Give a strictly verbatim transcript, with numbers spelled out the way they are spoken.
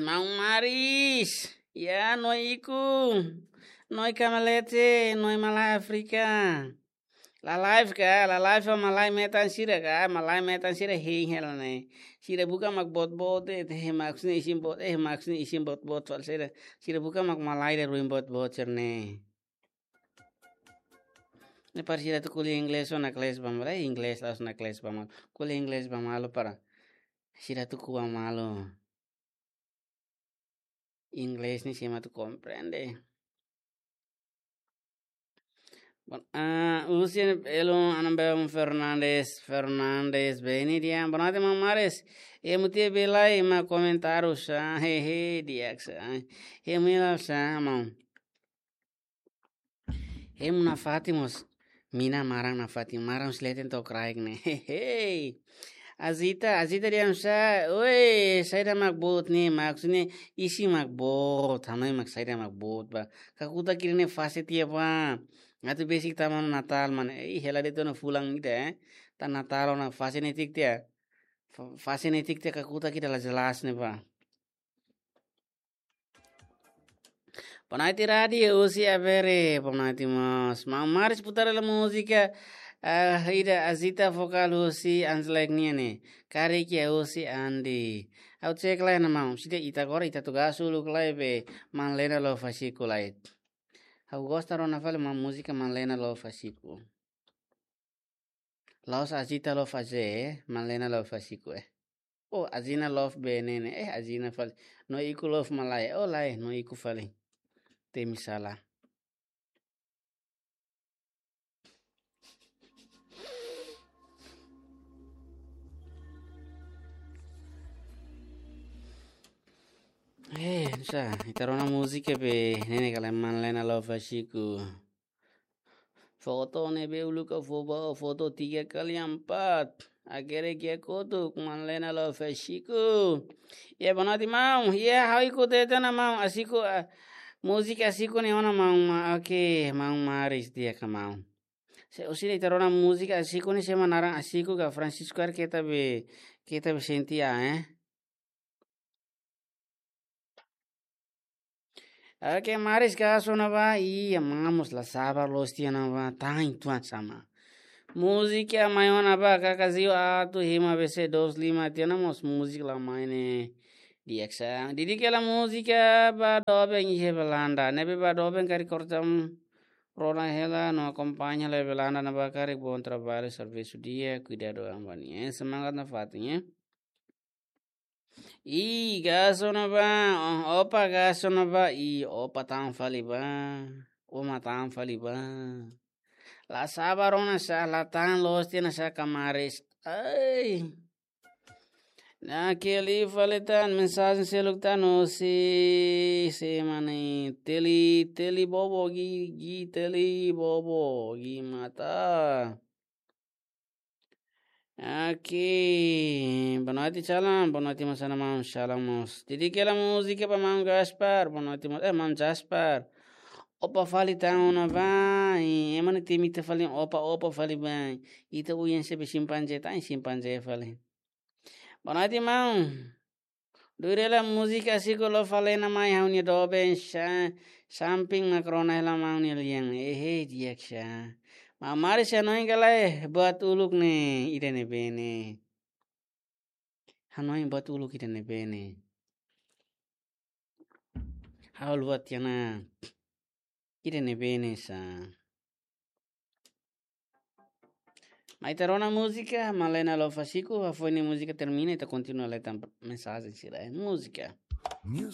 Maun Maris, ya, no iku, no iku malete, no malae Áfrika. La live ka, la live malae metan sira ka, malae metan sira hein hela ne'e. Sira buka mak boot-boot, eh, eh, mak sini isin boot, eh, mak sini isin boot-boot fali sira. Sira buka mak malae ida ruin boot-boot sira ne'e. Ne'e para sira atu ko'alia inglés ona kles ba malu, eh, inglés la'ós ona kles ba malu. Ko'alia inglés ba malu para sira atu ko'a malu. Inglés ne'e sira mak atu komprende. Bon, ah, husi Elo Anabel Fernandes, Fernandes, bem-vinda, boa noite, maun Maris. Emu tiha bele mai komentáriu sá, hehe, di'ak sá. Emu hela sá, maun. Emu nafatin mós, mina maran nafatin, maran husi leten to'o kraik ne'e. Hehe. Azita, Azita dehan sá, oi, saida mak boot ne'e, maksudnya isin mak boot, hanoin mak saida mak boot ba. Kakutak ida-ne'e fase tiha ba. Atu besik tama Natál, maun. Ih, hela de'it ona fulan ida, eh. Tan Natál ona fase netik tiha. Fa-, fase netik tiha kakutak ida la jelas ne'e ba. Boa noite, Radi, husi Abere, boa noite mós. Maun Maris putar hela múzika, ah, ida Azita vokál husi Anslek nian ne'e. Karik iha husi Andi. Ha'u cek lai ona maun, sida ita agora ita tugas uluk lai be, Maun Lena Love Fasiku lai. Ha'u gosta rona fali maun múzika Maun Lena Love Fasiku. La'ós Azita Love Aze, eh, Maun Lena Love Fasiku, eh. Oh, Azina Love be ne'e ne'e, eh, Azina fali. No iku Love malae, oh, lae, no iku fali. Temi sala. Eh, sá, ita rona múzika be, ne'e ne'e kala Maun Lena Love Fasiku. Foto ne'ebé uluk ha'u fó ba ó, foto tiga kali empat. Hakerek iha kotuk, Maun Lena Love Fasiku. Ya, boa noite, maun. Ya, ha'u iku tete ona maun. Asiku, ah, múzika Asiku ne'e ona maun. Ma-, oke, maun Maris di'ak ka maun. Se, husi ita rona múzika Asiku ne'e sé mak naran Asiku ka Francisco ar keta be, keta be sente, eh. Oke, Maris ka sona ba, iya, maun mós la sabar loos tiha ona ba, tan tuan sama. Múzika mai ona ba, kaka Zio atu hima B C dois lima tiha ona mós múzika la mai ne'e. Di'ak sá. Didik hela múzika ba doben iha Belanda. Ne'ebé ba doben karik kortam rona hela no akompaña hela Belanda ne'ebá karik bom trabalho, servisu di'ak, kuidadu an ba nia. Eh, semangat nafatin, eh. Ih, ka sona ba, oh, opa ka sona ba, ih, opa tan fali ba, uma tan fali ba. La sabar ona sá, la tan loos tiha ona sá ka Maris. Ai. Naquele fali tan, mensajen seluk tan, oh, si, si, mane, teli, teli bobo, gi, gi, teli bobo, gi mata. Oke, boa noite, Salam. Boa noite, Masana Maun. Salam, mós. Didik hela múzika ba Maun Gaspar. Boa noite, Maun, eh, Maun Gaspar. Opa fali tan ona ba. Ema ne'e temi ita fali opa, opa fali ba. Ita uyan sebe simpanze, tan simpanze fali. Boa noite, maun. Duréla múzika Asiku Love Lena mai ha'u-nia doben sá, samping mak rona hela maun nia lian. Ehe, di'ak sá. Maun Maris, hanoin ka lae buat uluk ne'e ida ne'ebé ne'e. Hanoin buat uluk ida ne'ebé ne'e. Ha'u haluha tiha ona. Ida ne'ebé ne'e sá. Mai ita rona múzika, Maun Lena Love Fasiku, hafoin ne'e múzika termina, ita kontinua leten mensajen sira, eh, múzika. Music